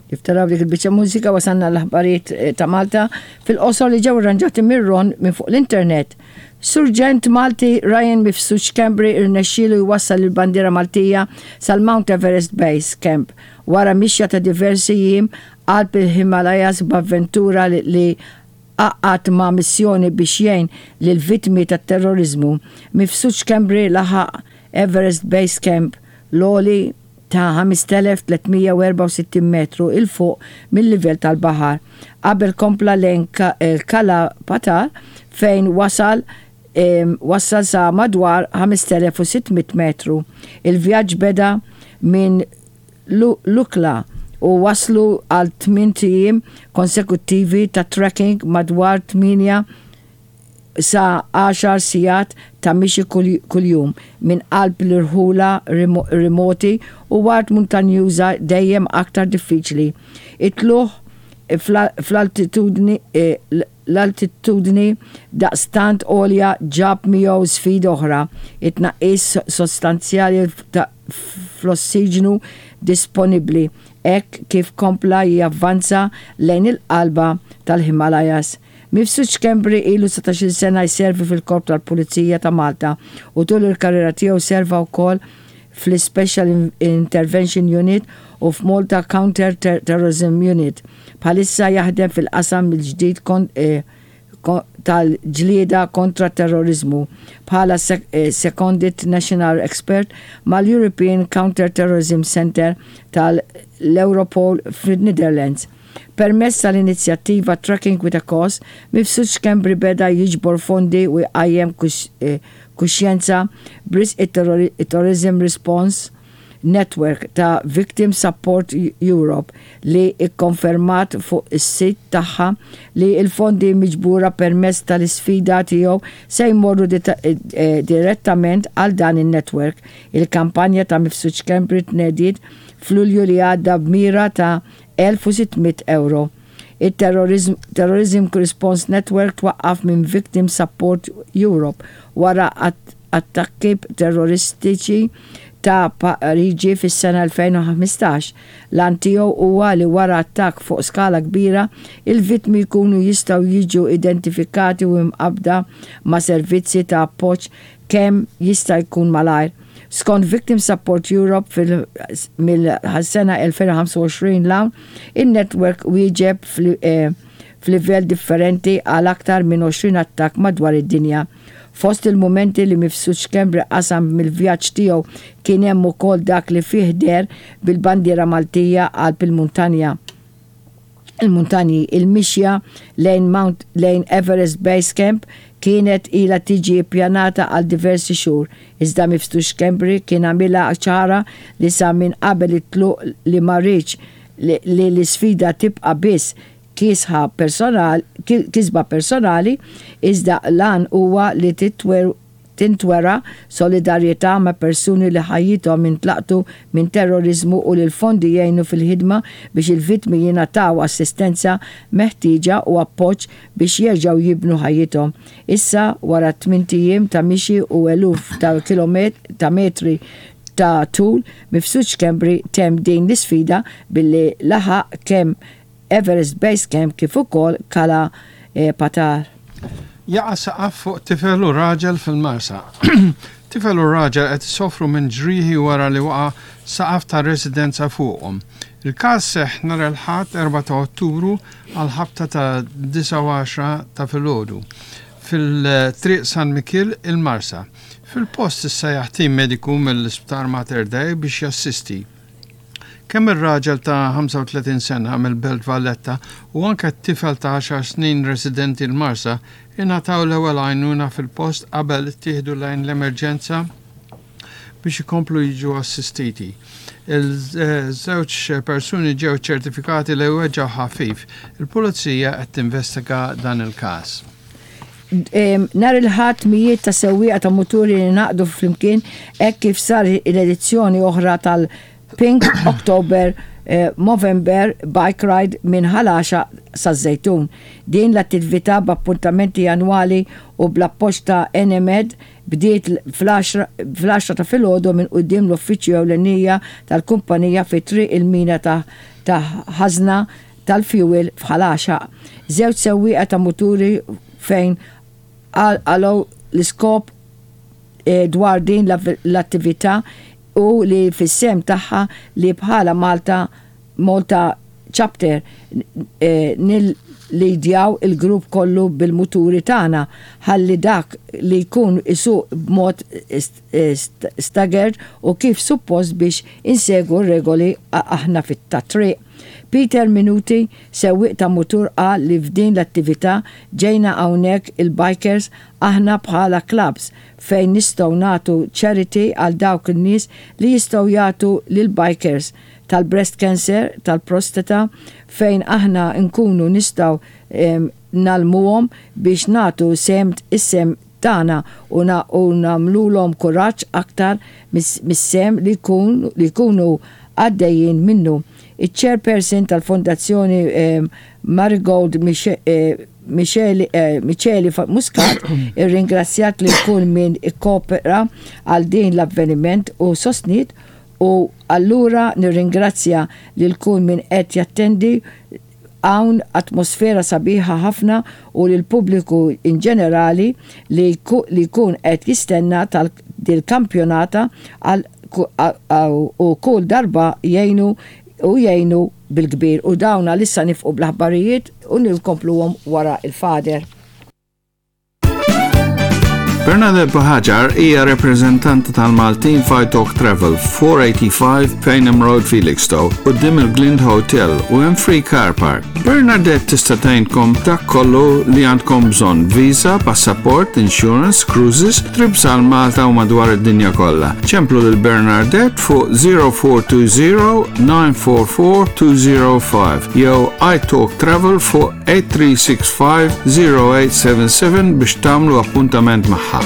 Kif taraw dik il-biċċa mużika wasalna l-aħbarijiet eh, ta' Malta fil-qosor li ġew irranġati mir-Ron minn fuq l-internet. Surġent Malti Ryan Mifsud Schembri irnexxielu jwassal il-bandiera Maltija sal-Mount Everest Base Camp wara mixja ta' diversi jiem qalb il-Himalayas b'avventura li għaqqad ma' missjoni biex jgħin lill-vittmi tat-terroriżmu. Mifsud Schembri laħaq Everest Base Camp, l-għoli ta' 5,364 metru 'l fuq mil-livell tal-baħar, qabel kompla lejn Kala Patthar fejn wasal wassal sa madwar 5,600 metru. Il-vjaġġ beda minn Lukla u wasslu għal tmient ijiem konsekuttivi ta' trekking madwar 8 sa għaxar sigħat ta' mixi kuljum minn qalb l-irħula remoti u art muntanjuża dejjem aktar diffiċli. It-tlugħ fl-altitudni L-altitudni daqstant għolja ġab miegħu sfida oħra, it-tnaqqis sostanzjali fl-ossiġnu disponibbli hekk kif kompla javvanza lejn il-qalba tal-Himalayas. Mifsud Schembri ilu 19-il sena jservi fil-Korp tal-Pulizija ta' Malta u tul il-karriera tiegħu serva wkoll fl-Ispecial Intervention Unit u f'Malta Counter Terrorism Unit. Bħalissa jaħdem fil-qasam mill-ġdid tal-ġlieda kontra t-terroriżmu bħala Seconded National Expert mal-European Counter Terrorism Centre tal-Europol fin-Netherlands. Permezz tal-inizjattiva Tracking with a Cause, Mifsud Schembri beda jiġbor fondi u jqajjem kuxjenza b'risq it-Terrorism Response Network ta' Victim Support Europe li kkonfermat fuq is-sit tagħha li l-fondi miġbura permezz tal-isfida tiegħu se jmorru direttament għal dan in-network. Il-kampanja ta' Mifsud Schembri tnediet f'Lulju li għadda b'mira ta' 1,600 ewro. It-Terrorism Response Network twaqqaf minn Victim Support Europe wara attakki terroristiċi ta' Pariġi fis-sena 2015. L-għan tiegħu huwa li wara attakk fuq skala kbira, il-vittmi jkunu jistgħu jiġu identifikati u mqabbda ma' servizzi ta' appoġġ kemm jista' jkun malajr. Skont Victim Support Europe mill-sena 2025 'l hawn, in-network wieġeb f'livell differenti għal aktar minn 20 attakk madwar id-dinja. Fost il-mumenti li Mifsud Schembri qasam mill-vjaġġ tiegħu kien hemm ukoll dak li fih deher bil-bandiera Maltija qalb il-muntanja. Il-muntanji, il-mixja lejn Mount lejn Everest Base Camp kienet ilha tiġi ppjanata għal diversi xhur, iżda Mifsud Schembri kien għamilha ċara li sa minn qabel it-tluq li ma riedx li l-isfida tibqa' biss kisħa personal kisba personali iżda l-għan huwa li tintwera solidarjetà ma' persuni li ħajjithom intlaqtu minn terroriżmu u li l-fondi jgħinu fil-ħidma biex il-vittmi jingħataw assistenza meħtieġa u appoġġ biex jerġgħu jibnu ħajjithom. Issa, wara tmint ijiem ta' mixi u eluf ta' ta' metri ta' tul, Mifsud Schembri temm din l-isfida billi laħaq kemm Everest Base Camp kif ukoll Kala Patar. Jaqa' saqaf fuq tifel u raġel fil-Marsa. Tifel u raġel qed isofru minn ġrieħi wara li waqa' saqaf ta' residenza fuqhom. Il-każ seħħ nhar il-Ħadd 4 ta' Ottubru għall-ħabta ta' 9:10 ta' filgħodu fil-Triq San Mikiel il-Marsa. Fil-post issejjaħ tim mediku mill-Isptar Mater Dei biex jassisti. Kemm ir-raġel ta' 35 sena mill-Belt Valletta u anke t-tifel ta' għaxar snin residenti l-Marsa ingħataw l-ewwel għajnuna fil-post qabel ittieħdu lejn l-emerġenza biex ikomplu jiġu assistiti. Il-żewġ persuni ġew ċertifikati li weġgħu ħafif. Il-Pulizija qed tinvestiga dan il-każ. Nhar il-Ħadd mijiet ta' sewwieqa ta' muturi ingħaqdu flimkien hekk kif sar l-edizzjoni oħra tal- Pink October Movember Bike Ride minn Ħal Għaxaq saż-Żejtun. Din l-attività b'appuntamenti annwali u bl-appoġġ ta' Enemed bdiet fl-għaxra ta' filgħodu minn quddiem l-uffiċċju ewlenija tal-kumpanija fi Triq il-Mina ta' Ħażna tal-Fjuwil f'Ħal Għaxaq. Żewġ sewwieqa ta' muturi fejn qalgħu l-iskop dwar din l-attività u li fis-sehem tagħha li bħala Malta Malta Chapter nillidjaw il-grupp kollu bil-muturi tagħna ħalli dak li jkun isuq b'mod staggered u kif suppost biex insegwu r-regoli aħna tat-triq. Peter Minuti, sewwieq ta' mutur qal li f'din l-attività ġejna hawnhekk il-bikers aħna bħala clubs fejn nistgħu nagħtu charity għal dawk in-nies li jistgħu jagħtu lill-bikers tal-breast cancer, tal-prostata fejn aħna nkunu nistgħu ngħallmuhom biex nagħtu sehem is-sehem tagħna u nagħmlulhom kuraġġ aktar mis-sehem li jkunu għaddejjin minnu. Iċ-chairperson tal-Fondazzjoni Marigold Micheli Muscat irringrazzjat lil kull min ikkopera għal din l-avveniment u sostniet u allura nirringrazzja lil kull min qed jattendi hawn atmosfera sabiħa ħafna u lill-pubbliku in ġenerali li jkun qed jistenna dil-kampjonata għal u kull darba jgħinu u jgħinu bil-kbir u dawn għalissa nifqu bl-aħbarijiet u nkompluhom wara il-fader. Bernadette Buhagiar hija reprezentanti tal-Maltin f'Italk Travel 485 Payneham Road Felixstowe quddiem il-Glind Hotel u hemm free car park. Bernadette tista' tgħinkom dak kollu li għandkom bżonn visa, passaport, insurance, cruises, trips għal Malta u madwar id-dinja kollha. Ċemplu lil Bernadette fuq 0420 944 205 jew iTalk Travel fuq 8365 0877 biex tagħmlu appuntament magħha.